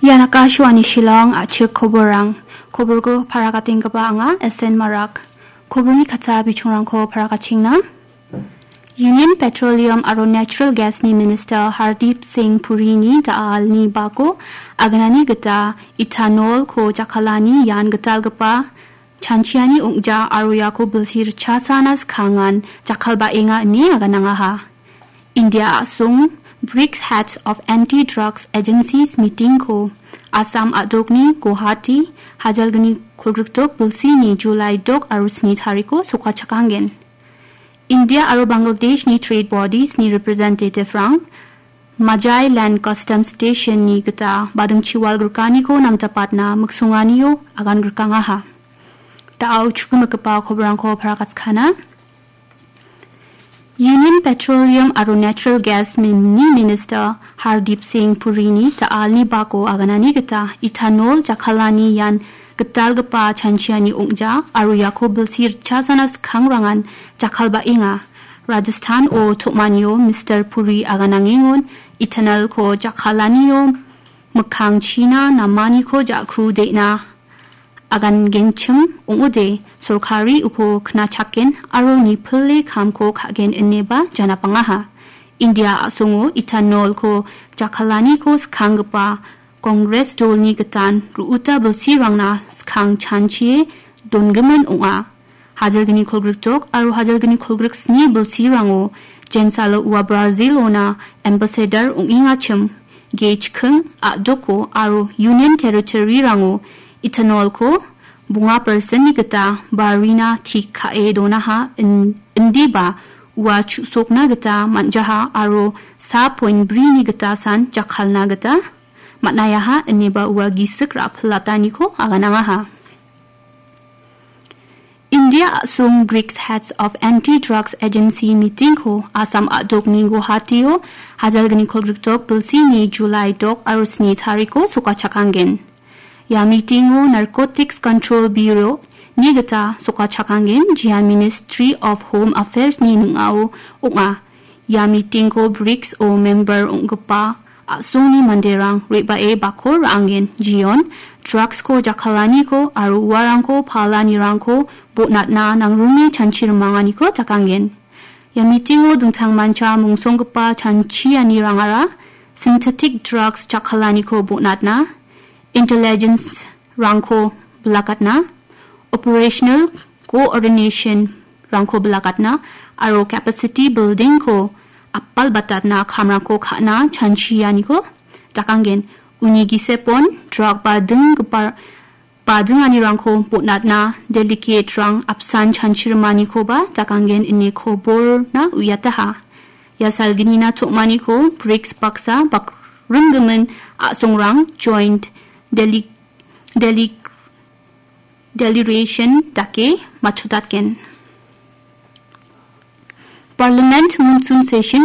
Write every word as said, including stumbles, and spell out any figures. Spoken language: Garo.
Ian Akashvani Shillong, a·chik koborrang. Koborko parakatenggipa anga S N Marak. Koborni katsa bichongrangko parakatchengna. Union Petroleum aro Natural Gas-ni Minister Hardeep Singh Purini da·alni bako aganani gita ethanol-ko jakkalani ian gitalgipa chanchiani ong·ja aro iako bilsi ritchasana skangan jakkalbaenga ine aganangaha. India a·song brics Heads of Anti-Drugs Agencies meeting-ko Assam a·dokni Guwahati, hajalgni kolgrikdok bilsini July dok aro sni tariko sokachakanggen. India aro Bangladeshni trade bodies-ni representative-rang Majai Land Customs Station-ni gita badingchi wal grikaniko namjapatna miksonganio agan grikangaha. Da·o chukgimikgipa koborrangko parakatskana. Union Petroleum aro Natural Gas-ni Minister Hardeep Singh Purini da·alni bako aganani gita ethanol jakkalani ian gitalgipa chanchiani ong·ja aro iako bilsi ritchasana skangrangan jakkalbaenga. Rajasthan-o tom·anio Mister Puri aganangengon ethanol-ko jakkalanio mikkangchina namaniko ja·ku de·na agangenchim ong·ode, sorkari uko knachaken aro nipile kamko ka·gen ineba janapangaha. India a·songo ethanol-ko jakkalaniko skanggipa Congress dolni gitan ru·uta bilsirangna skang chanchie dongimin ong·a. Hajalgni kolgrikdok aro hajalgni kolgriksni bilsirango jensalo ua Brazil-ona ambassador ong·engachim, ge chiking a·doko aro Union Territory-rango ethanol-ko bonga percent-ni gita barina tik ka·e donaha in-, indiba ua chu·sokna gita man·jaha aro sa point bri-ni gita san jakkalna gita man·aiaha ineba ua gisik ra·pilataniko aganangaha. India a·song brics Heads of Anti-Drugs Agency meeting-ko Assam a·dokni Guwahati-o hajalgni kolgrikdok bilsini July dok aro sni tariko sokachakanggen. Ia meeting-o Narcotics Control Bureau-ni gita sokachakanggen, jian Ministry of Home Affairs-ni ning·ao ong·a. Ia meeting-ko brics-o member ong·gipa a·songni manderang re·bae bakko ra·angen, jion, drugs-ko jakkalaniko aro uarangko palanirangko bonatna nangruni chanchi rimanganiko jakanggen. Ia meeting-o dingtangmancha mungsonggipa chanchianirangara synthetic drugs jakkalaniko bonatna, intelligence-rangko bilakatna, operational coordination-rangko bilakatna aro capacity building-ko apalbatatna kamrangko ka·na chanchianiko jakanggen. Uni gisepon drug badinggipa badinganirangko bonatna delegate-rang apsan chanchirimanikoba jakanggen ine koborna uiataha. Ia salgnina tom·aniko brics baksa bakringgimin a·songrang joint dele-, dele-, deliberation dake matchotatgen. Parliament monsoon session